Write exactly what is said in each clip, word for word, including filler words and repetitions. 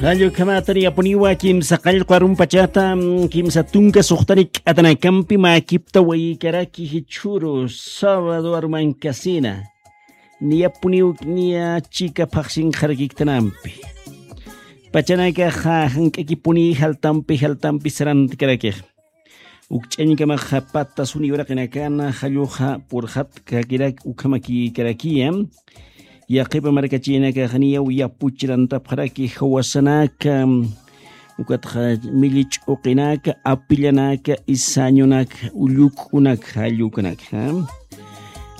Jallukhamatani apuniwa kimsa qallqu arumpachata, kimsa tunka suxtani k'atanakampi mäkipta wayikaraki jichhuru sábado arumankasina. Niyapuniw niya chika phaxsinxarakiktanampi. Pachanakaxa jank'akipuni jaltampi jaltampi sarantkarakixa. Ukch'añkamaxa pata suni uraqinakana jalluxa purxatkakirak ukhamakikarakiya. Yaqipa markachinakaxniyaw yapuchirantapxaraki jawasanaka, ukatxa milli ch'uqinaka, apillanaka, isañunaka, ulluk'unaka, jallukunaka.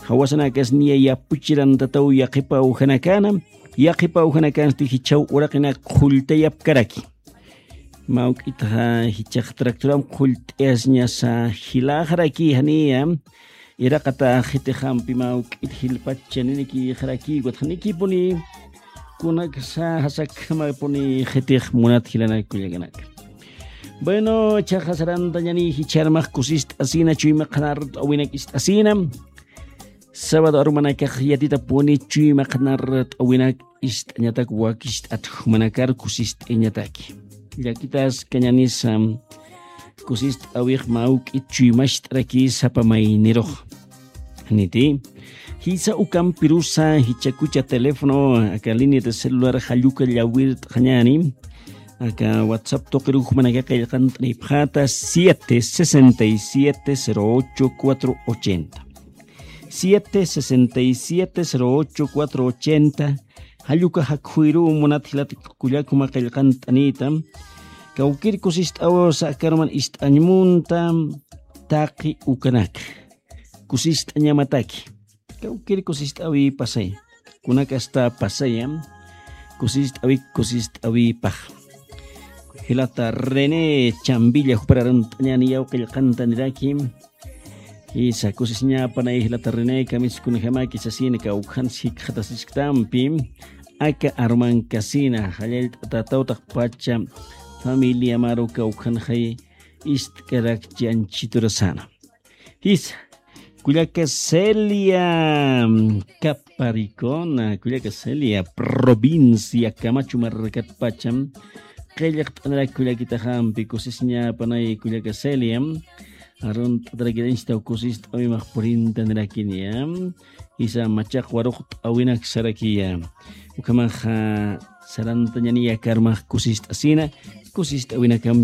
Jawasanakas niya yapuchirantataw yaqipa ujanakana, yaqipa ujanakansti jichhaw uraqinak qhulltayapkaraki. Mawk'itxa jichhax tractoram qhullt'ayasñasa jilaxaraki janiya, iraqata jitixampi mawk'it jilpacha ninikixaraki, ukatxa nikipuni kunaksa jasakhamapuni jitix munat jilanak kullakanaka. Bueno, chaxa sarantañani jichharmax kusist'asina, chuyma qhanart'awinak ist'asina. Sábado arumanakax yatitapuni chuyma qhanart'awinak ist'añatak wakist'at jumanakar kusist'añataki. Llakitaskañanisa kusist'awix mawk'it chuymacht'araki sapa maynirux. Niti, jisa ukampirusa jichhakucha teléfono aka línea de celular jalluka llawirt'añani, aka WhatsApp tuqiruxmanaka qillqant'anipxata siete sesenta y siete cero ocho cuatro ochenta. Siete sesenta y siete cero ocho cuatro ochenta. Jalluka jakhuwiruw munat jilat kullakuma qillqant'anita. Kawkir kusist'awsa akaruman ist'añmunta taqi ukanak. Kusist'añamataki. Kawkir kusist'awi pasay. Kunakasta pasaya. Kusist'awi kusist'awipax. Jilata René Chambilla jupar arunt'añani yaw qillqantaniraki. Jisa kusisiñapanay jilata René, kamiskunjamaki sasina kawkhan sikxatasisktampi. Aka arumankasina jallallt'atatawtaq pacha familia maru kawkhanxay ist'karakchi anchiturasana. Jisa, kullaka Celia, mm, Caparicona, kullaka Celia, provincia Camacho markatpacham, qillqt'anirak kullakitaxampi kusisiñapanay kullaka Celia, arunt'atarakirañchitaw kusist'awimax purintanirakiniya. Jisa machaq waruqt'awinak sarakiya. Ukhamaxa sarantañaniya karmax kusist'asina, kusist'awinakam